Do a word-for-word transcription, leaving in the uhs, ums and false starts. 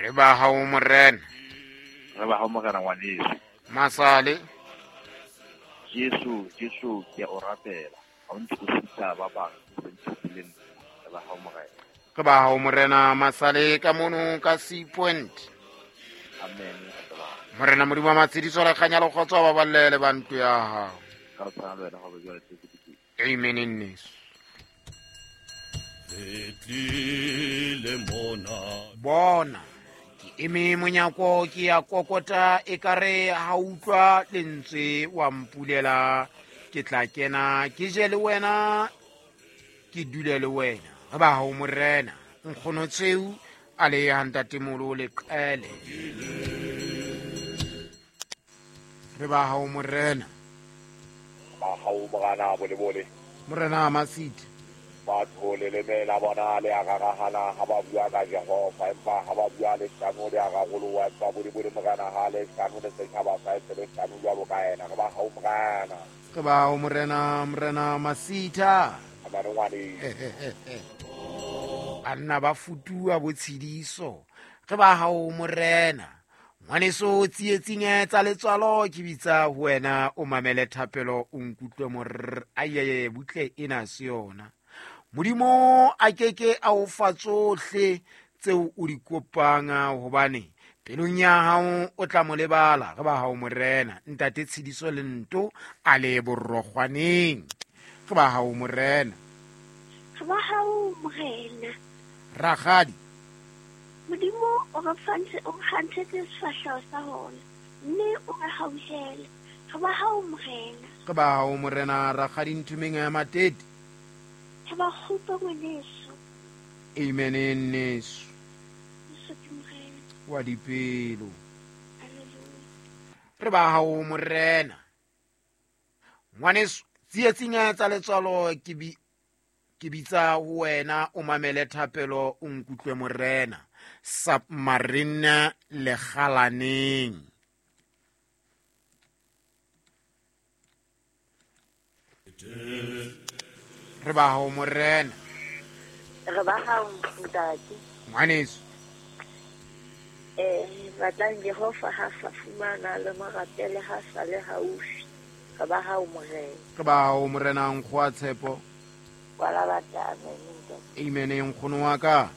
Re ba hao morena. Re ba hao morena ngwaneso. Masale. Jesu, Jesu ke o rapela. Ha o ntse o sita ba bang, o ntse le re ba hao morena. Re ba hao morena Masale ka mono ka C Point. Amen. Morena Modimo wa matshediso le kganya le kgotso ba balle le bantu ya hao. Ka tshwana le wena go be jwale tse. Amen nneso. Bona ke eme monyako ke ya kokota ekare ha utlwa lentswe wa mpulela ke tla kena ke je le wena ke dule le wena. Re ba hao morena nkgono tseu a le ya ntatemolo le qele. Re ba hao morena. Ba hao morena bole bole. Morena Masiti. Batho le lemela bona le a rarahana ha ba bua ka Jehova empa ha ba bua le hlano le a raroloha empa bole bole morena ha le hlano le setjhaba sa e le hlano jwalo ka yena. Re ba hao morena. Re ba hao morena morena Masita. Banna ba futua botshidiso. Re ba hao morena. Ngwaneso tsietsing tsa letswalo ke bitsa ho wena o mamele thapelo o nkutlwe morr ayeye butle ena se yona. Modimo a keke a o fa tsohle tseo o di kopang hobane pelong ya hao o tla mo lebala. Re ba hao morena ntate Tshidiso le nto a le borogwaneng. Re ba hao morena. Re ba hao morena. Rakgadi. Modimo o re fantse o kgantshetse sefahleho sa hona mme o re hauhele. Re ba hao morena. Re ba hao morena rakgadi nthumeng ya Matete. Re ba kgupa ngwaneso. Amen nneso. Jesu ke morena. Wa dipelo. Hallelujah. Re ba hao morena. Ngwaneso tsietsing tsa letswalo ke bi ke bitsa ho wena o mamele thapelo o nkutlwe morena. Submarine le galaneng. Re ba hao morena. Re ba hao ntate. Ngwaneso. Eh batlang Jehova ha sa fumana le morapele ha sa le haufi. Re ba hao morena. Re ba hao morena nkgoa tshepo. Wala batla amen. Amen nkgono wa ka.